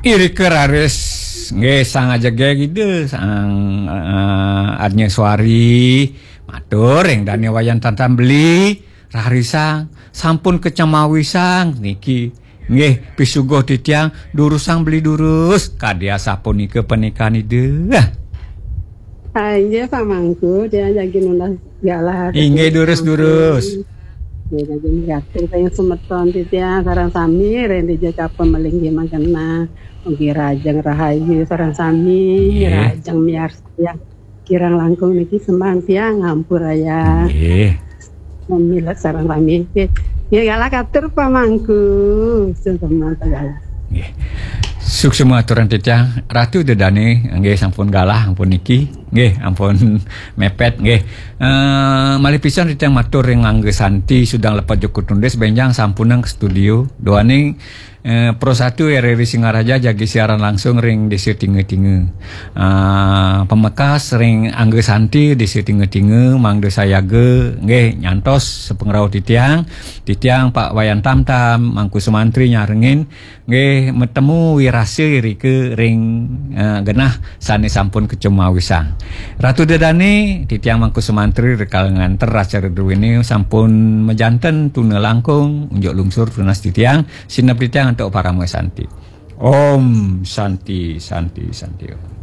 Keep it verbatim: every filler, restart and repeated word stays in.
Irika raris nggih sang ajege Ida, sang, eh, Arnya Suari, matur ring dane Wayan Tantan beli, rarisang, sampun kacemawisang niki. Nggih, pisuguh titiang, durusang beli durus, kadi asapunika panikan Ida. Ah, inggih, Pak Mangku, dia jagi nunas galah. Inggih, durus-durus. Dia jagi ngatur kaya semeton titiang, sareng sami, ring dija capa malinggih mangkena. Mugi rajeng rahayu, sareng sami, Nggih. Rajeng miarsa tiang. Kirang langkung niki sembang tiang, ngampurayang. Nggih. Mamilet sareng sami. Nggih. Nggih, galah katur Pak Mangku. Sembang galah. Nggih. Suksma aturan titiang, Ratu Dedane, nggih sampun galah, ampun niki. Nggih, ampun mepet, nggih. Eh, malih pisan titiang matur ring Angga Santi, Sudang Lepat Joko Tundis, benjang sampunang ke studio. Duaning, eh, Pro Satu R R I Singaraja jagi siaran langsung ring Desa Tinga-Tinga. Eh, pamekas ring Angga Santi, Desa Tinga-Tinga, mangda sayaga, nggih, nyantos sapangrauh titiang, titiang Pak Wayan Tamtam, Mangku Sumantri nyarengin, nggih, matemu wirasa irika ring, eh, genah sane sampun kacemawisang. Ratu Dedane, titiang Mangku Sumantri rikala nganter acara druene sampun majanten tuna langkung, unjuk lungsur tunas titiang, sineb titiang antuk parama santi. Om Santi, Santi, Santi Om.